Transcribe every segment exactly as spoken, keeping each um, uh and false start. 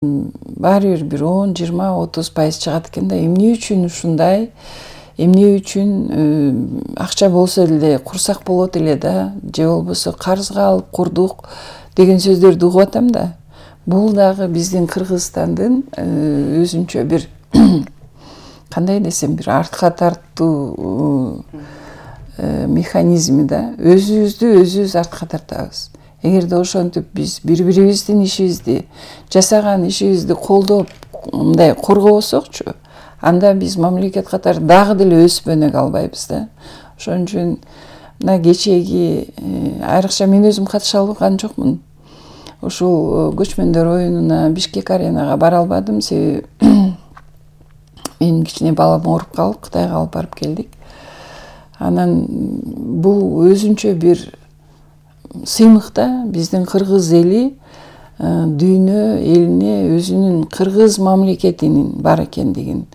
баары бир бир он, жыйырма, отуз пайыз чыгат экен да. Эмне үчүн ушундай? Эмне үчүн акча болсо эле курсак болот эле да, же болбосо карызга алып курдук деген сөздөрдү угуп атам да. Бул дагы биздин Кыргызстандын өзүнчө бир кандай десем, бир артка тартуу механизми да. Өзүбүздү өзүбүз артка тартабыз. Эгерде ошентип биз бири-бирибиздин ишибизди, жасаган ишибизди колдоп, мындай коргобосокчу, анда биз мамлекет катары дагы деле өсүп өнүгө албайбыз да. Ошон үчүн мына кечеги айрыкча мен өзүм катыша алган жокмун. Ушул көчмөндөр оюнуна Бишкек аренага бара албадым, себеби менин кичине балам ооруп калып, Кытайга алып барып келдик. Анан бул өзүнчө бир сыймык да, биздин кыргыз эли дүйнө элине өзүнүн кыргыз мамлекетинин бар экендигин,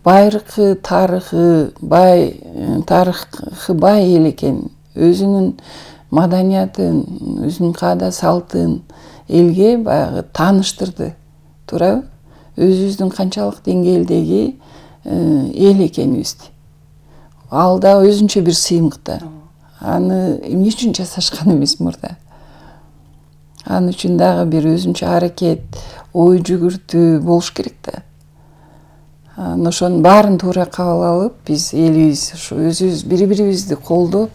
байыркы тарыхы бай, тарыхы бай эл экенин, өзүнүн маданиятын, өзүнүн каада салтын элге баягы тааныштырды. Туурабы? Өзүбүздүн канчалык деңгээлдеги эл экенибизди. Ал да өзүнчө бир сыймык да. Аны эмне үчүн жасашкан эмес мурда? Аны үчүн дагы бир өзүнчө аракет, ой жүгүртүү болуш керек да. Анан ошонун баарын туура кабыл алып, биз элибиз ушу өзүбүз бири-бирибизди колдоп,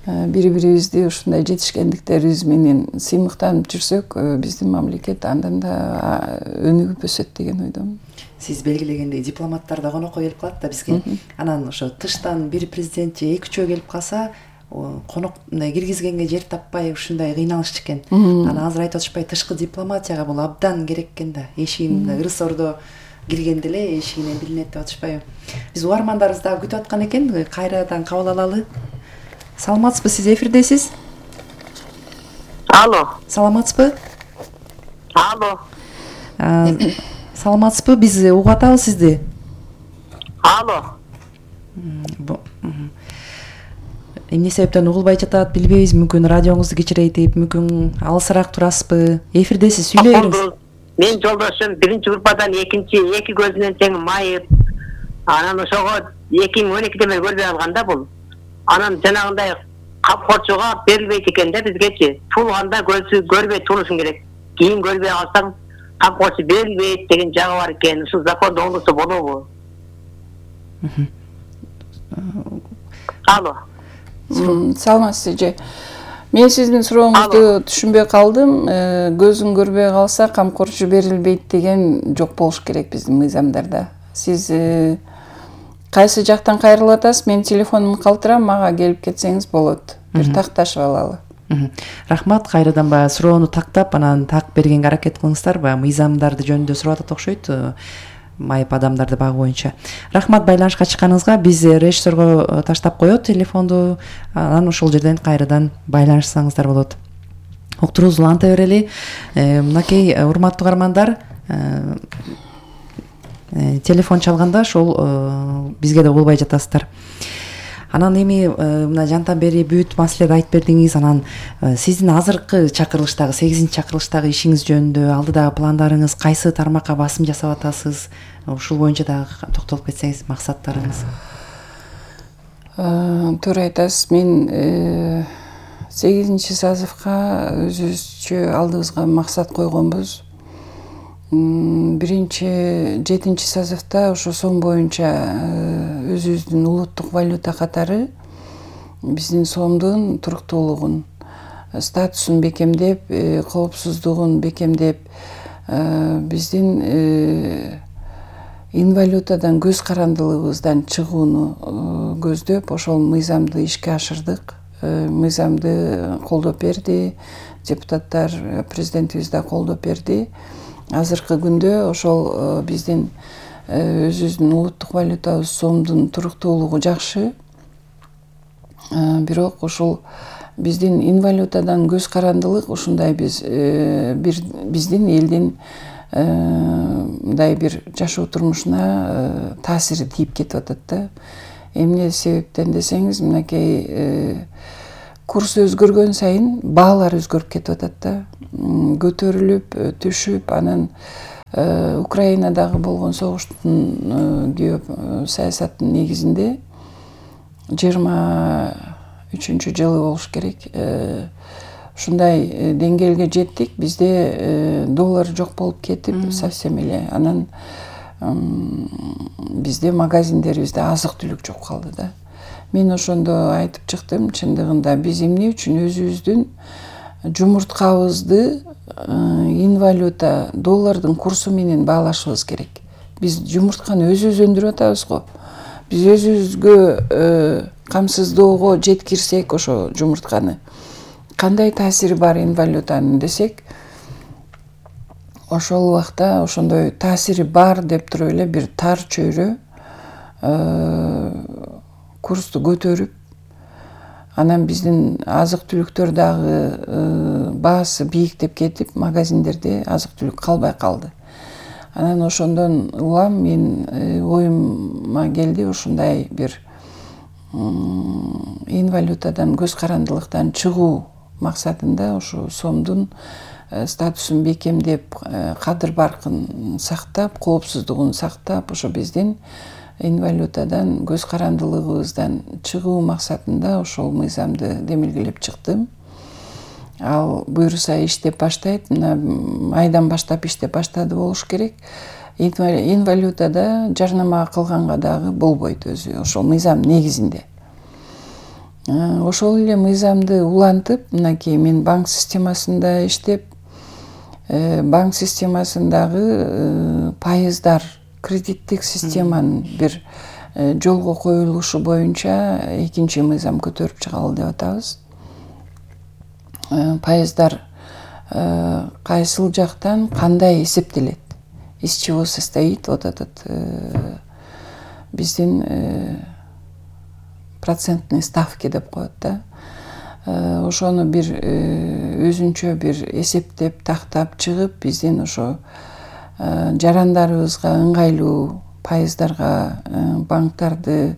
бири-бирибизди ушундай жетишкендиктерибиз менен сыймыктанып жүрсөк, биздин мамлекет андан да өнүгүп өсөт деген ойдомун. Сиз белгилегендей дипломаттар да конокко келип калат да бизге. Анан ошо тыштан бир президент же эки үчөө келип калса, конок мындай киргизгенге жер таппай ушундай кыйналышчу экен. Анан азыр айтып атышпай, тышкы дипломатияга бул абдан керек экен да. Эшигин ырыс ордо киргенде эле эшигинен билинет деп атышпайбы? Биз угармандарыбыз дагы күтүп аткан экен, кайрадан кабыл алалы. Саламатсызбы, сиз эфирдесиз? Алло. Саламатсызбы? Алло. Саламатсызбы? Биз угуп атабыз сизди. Алло. Эмне себептен угулбай жатат билбейбиз. Мүмкүн радионузду кичирейтип, мүмкүн алысыраак турасызбы? Эфирдесиз, сүйлөй бериңиз. Мен жолдошум биринчи группадан экинчи эки көзүнөн тең майып. Анан ошого эки миң он экиде мен көрбөй алганда бул. Анан жанагындай камкорчуга берилбейт экен да бизгечи. Туулганда көзү көрбөй туулушуң керек. Кийин көрбөй калсаң камкорчу берилбейт деген жагы бар экен. Ушул законду оңдосо болобу? Алло. Саламатсыз же. Мен сиздин сурооңузду түшүнбөй калдым. Көзүң көрбөй калса камкорчу берилбейт деген жок болуш керек биздин мыйзамдарда. Сиз кайсы жактан кайрылып атасыз? Мен телефонумду калтырам, мага келип кетсеңиз болот. Бир такташып алалы. Рахмат, кайрадан баягы суроону тактап, анан так бергенге аракет кылыңыздар. Баягы мыйзамдарды жөнүндө сурап атат окшойт. Майып адамдарды багуу боюнча. Рахмат байланышка чыкканыңызга. Биз режиссерго таштап коет телефонду. Анан ошол жерден кайрадан байланышсаңыздар болот. Уктуруубузду уланта берели. Мынакей урматтуу угармандар, телефон чалганда ошол бизге да болбой жатасыздар. Анан эми мына жантан бери бүт маселеди айтып бердиңиз. Анан сиздин азыркы чакырылыштагы, сегизинчи чакырылыштагы ишиңиз жөнүндө, алдыдагы пландарыңыз, кайсы тармакка басым жасап атасыз? Ушул боюнча дагы токтолуп кетсеңиз, максаттарыңыз. Туура айтасыз. Мен сегизинчи созывга өзүбүзчө алдыбызга максат койгонбуз. Биринчи жетинчи созывда ошо сом боюнча өзүбүздүн улуттук валюта катары биздин сомдун туруктуулугун, статусун бекемдеп, коопсуздугун бекемдеп, биздин инвалютадан көз карандылыгыбыздан чыгууну көздөп, ошол мыйзамды ишке ашырдык. Мыйзамды колдоп берди, депутаттар, президентибиз да колдоп берди. Азыркы күндө ошол биздин өзүбүздүн улуттук валютабыз сомдун туруктуулугу жакшы. Бирок ушул биздин инвалютадан көз карандылык ушундай биз бир биздин элдин мындай бир жашоо турмушуна таасири тийип кетип атат да. Эмне себептен десеңиз, мынакей курс өзгөргөн сайын баалар өзгөрүп кетип атат да. Көтөрүлүп, түшүп, анан Украинадагы болгон согуштун геосаясаттын негизинде жыйырма үчүнчү жылы болуш керек. Ушундай деңгээлге жеттик. Бизде доллар жок болуп кетип, совсем эле. Анан бизде магазиндерибизде азык-түлүк жок калды да. Мен ошондо айтып чыктым, чындыгында биз эмне үчүн өзүбүздүн жумурткабызды инвалюта доллардын курсу менен баалашыбыз керек. Биз жумуртканы өзүбүз өндүрүп атабыз го. Биз өзүбүзгө камсыздоого жеткирсек ошо жумуртканы кандай таасири бар инвалютанын десек, ошол убакта ошондой таасири бар деп туруп эле бир тар чөйрө курсту көтөрүп, анан биздин азык-түлүктөр дагы баасы бийиктеп кетип, магазиндерде азык-түлүк калбай калды. Анан ошондон улам мен оюма келди ушундай бир инвалютадан, көз карандылыктан чыгуу максатында ушу сомдун статусун бекемдеп, кадыр баркын сактап, коопсуздугун сактап, ошо биздин инвалютадан, көз карандылыгыбыздан чыгуу максатында ошол мыйзамды демилгелеп чыктым. Ал буюрса иштеп баштайт, мына айдан баштап иштеп баштады болуш керек. Инвалютада жарнама кылганга дагы болбойт өзү, ошол мыйзам негизинде. Ошол эле мыйзамды улантып, мынакей мен банк системасында иштеп, банк системасындагы пайыздар, кредиттик системанын бир жолго коюлушу боюнча экинчи мыйзам көтөрүп чыгалы деп атабыз. Пайыздар кайсыл жактан кандай эсептелет? Из чего состоит вот этот биздин процентный ставки деп коет да. Ошону бир өзүнчө бир эсептеп, тактап чыгып, биздин ошо жарандарыбызга ыңгайлуу пайыздарга банктарды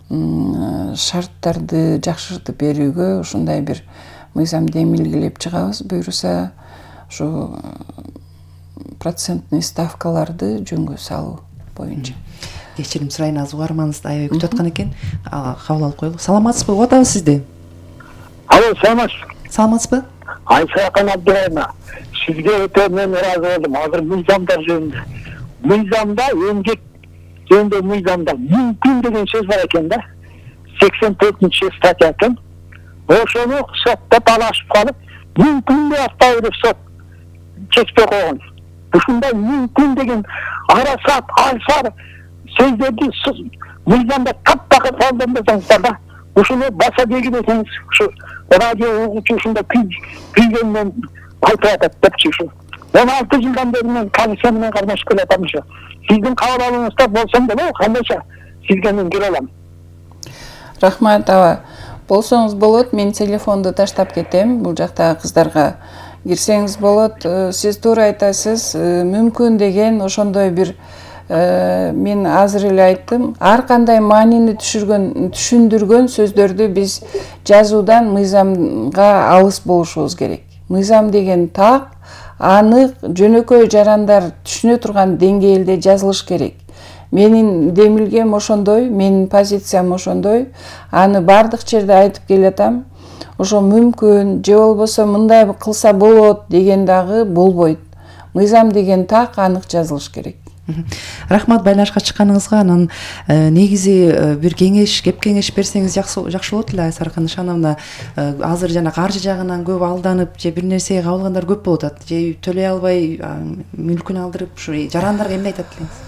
шарттарды жакшыртып берүүгө ушундай бир мыйзам демилгелеп чыгабыз. Буюрса ошо процентный ставкаларды жөнгө салуу боюнча. Кечирим сурайын, азыр угарманыбызды аябай күтүп аткан экен. Кабыл алып коелу. Саламатсызбы? Угуп атабыз сизди. Алло, саламатсыз. Саламатсызбы? Айсакан Абдырайна. Сизге өтө мен ыраазы болдум. Азыр мыйзамдар жөнүндө. Мыйзамда эмгек жөнүндө мыйзамда мүмкүн деген сөз бар экен да. сексен төртүнчү статья экен. Ошону сотто талашып калып, мүмкүн деп атпайбы деп сот чечпей койгон. Ушундай мүмкүн деген арасат, алсар сөздөрдү мыйзамда таптакыр колдонбосоңуздар да. Ушуну баса деген экенсиз. Ушу радио угуучу ушунда күйгөндөн айтып атат депчи ушу. он алты жылдан бери мен полиция менен катнашып келатам ушу. Сиздин кабыл алууңузда болсом деле, кандайча сизге мен келе алам. Рахмат аба. Болсоңуз болот, мен телефонду таштап кетем. Бул жакта кыздарга кирсеңиз болот. Сиз туура айтасыз. Мүмкүн деген ошондой бир мен азыр эле айттым. Ар кандай маанини түшүргөн, түшүндүргөн сөздөрдү биз жазуудан мыйзамга алыс болушубуз керек. Мыйзам деген так, анык, жөнөкөй жарандар түшүнө турган деңгээлде жазылыш керек. Менин демилгем ошондой, менин позициям ошондой. Аны бардык жерде айтып келатам. Ошо мүмкүн, же болбосо мындай кылса болот деген дагы болбойт. Мыйзам деген так, анык жазылыш керек. Рахмат байланышка чыкканыңызга. Анан негизи бир кеңеш, кеп кеңеш берсеңиз жакшы болот эле Айсаркан Ишановна. Азыр жана каржы жагынан көп алданып, же бир нерсеге кабылгандар көп болуп атат. Же төлөй албай мүлкүн алдырып, ушу жарандарга эмне айтат элеңиз?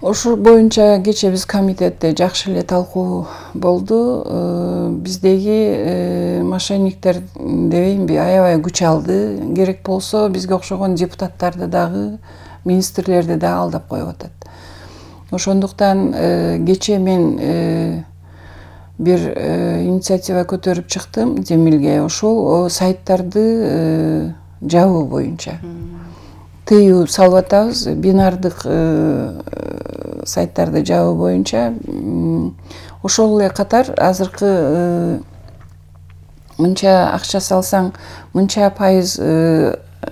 Ошол боюнча кече биз комитетте жакшы эле талкуу болду. Биздеги мошенниктер дебейинби, аябай күч алды. Керек болсо бизге окшогон депутаттарды дагы, министрлерди да алдап коюп атат. Ошондуктан кече мен бир инициатива көтөрүп чыктым Демилге. Ошол сайттарды жабуу боюнча тыюу салып атабыз. Бинардык сайттарды жабуу боюнча. Ошол эле катар азыркы мынча акча салсаң, мынча пайыз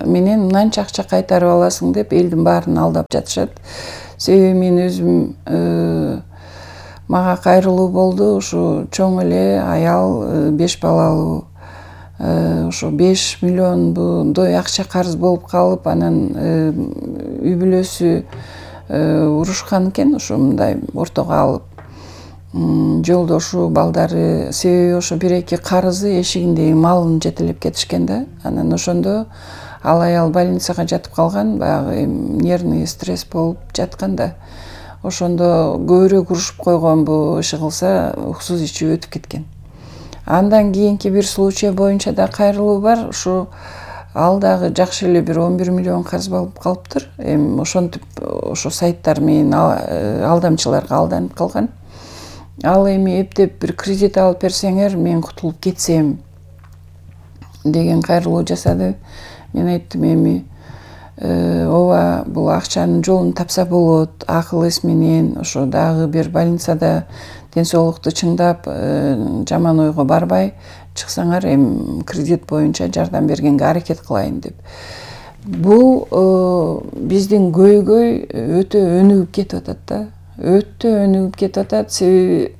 менен мынанча акча кайтарып аласың деп элдин баарын алдап жатышат. Себеби мен өзүм мага кайрылуу болду. Ушу чоң эле аял, беш балалуу, ошо беш миллиондой акча карыз болуп калып, анан үй бүлөсү урушкан экен, ошо мындай ортого алып. Жолдошу, балдары, себеби ошо бир-эки карызы эшигиндеги малын жетелеп кетишкен да. Анан ошондо ал аял больницага жатып калган, баягы нервный стресс болуп жаткан да. Ошондо көбүрөөк урушуп койгон, бу иши кылса уксуз ичип өтүп кеткен. Андан кийинки бир случай боюнча да кайрылуу бар. Ушу ал дагы жакшы эле бир он бир миллион карыз болуп калыптыр. Эми ошентип ошо сайттар менен алдамчыларга алданып калган. Ал эми эптеп бир кредит алып берсеңер, мен кутулуп кетсем деген кайрылуу жасады. Мен айттым, эми ооба, бул акчанын жолун тапса болот, акыл эс менен, ошо дагы бир больницада ден соолукту чыңдап, жаман ойго барбай чыксаңар, эми кредит боюнча жардам бергенге аракет кылайын деп. Бул биздин көйгөй өтө өнүгүп кетип атат да. Өтө өнүгүп кетип атат, себеби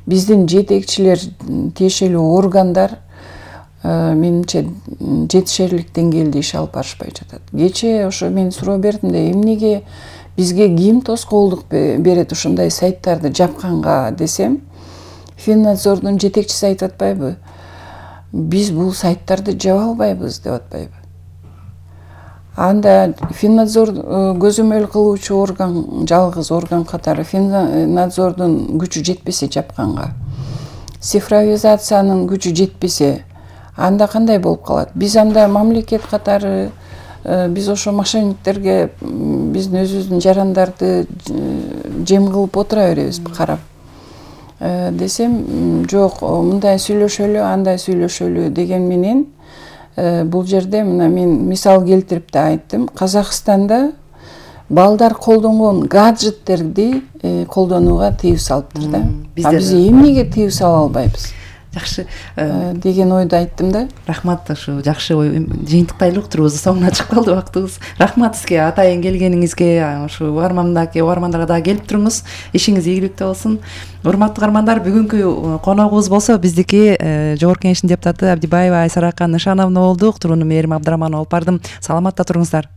биздин жетекчилер, тиешелүү органдар менимче жетишерлик деңгээлде иш алып барышпай жатат. Кечээ ошо мен суроо бердим да, эмнеге бизге ким тоскоолдук берет ушундай сайттарды жапканга десем, Финнадзордун жетекчиси айтып атпайбы? Биз бул сайттарды жаба албайбыз деп атпайбы? Анда Финнадзор көзөмөл кылуучу орган, жалгыз орган катары Финнадзордун күчү жетпесе жапканга, цифровизациянын күчү жетпесе, анда кандай болуп калат? Биз анда мамлекет катары, биз ошо мошенниктерге биздин өзүбүздүн жарандарды жем кылып отура беребизби карап? Десем, жок, мындай сүйлөшөлү, андай сүйлөшөлү деген менен бул жерде мына мен мисал келтирип да айттым. Казакстанда балдар колдонгон гаджеттерди колдонууга тыюу салыптыр да. А биз эмнеге тыюу сала албайбыз? Жакшы деген ойду айттым да. Рахмат, ушу жакшы ой. Жыйынтыктайлы уктурубуздун соңуна чыгып калды убактыбыз. Рахмат сизге, атайын келгениңизге, ушу угармандагы угармандарга дагы келип туруңуз. Ишиңиз ийгиликтүү болсун. Урматтуу угармандар, бүгүнкү коногубуз болсо биздики Жогорку Кеңештин депутаты Абдибаева Айсарака Нышановна болду. Уктурууну Мээрим Абдыраманова алып бардым. Саламатта туруңуздар.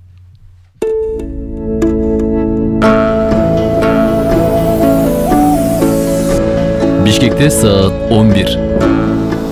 Бишкекте саат он бир.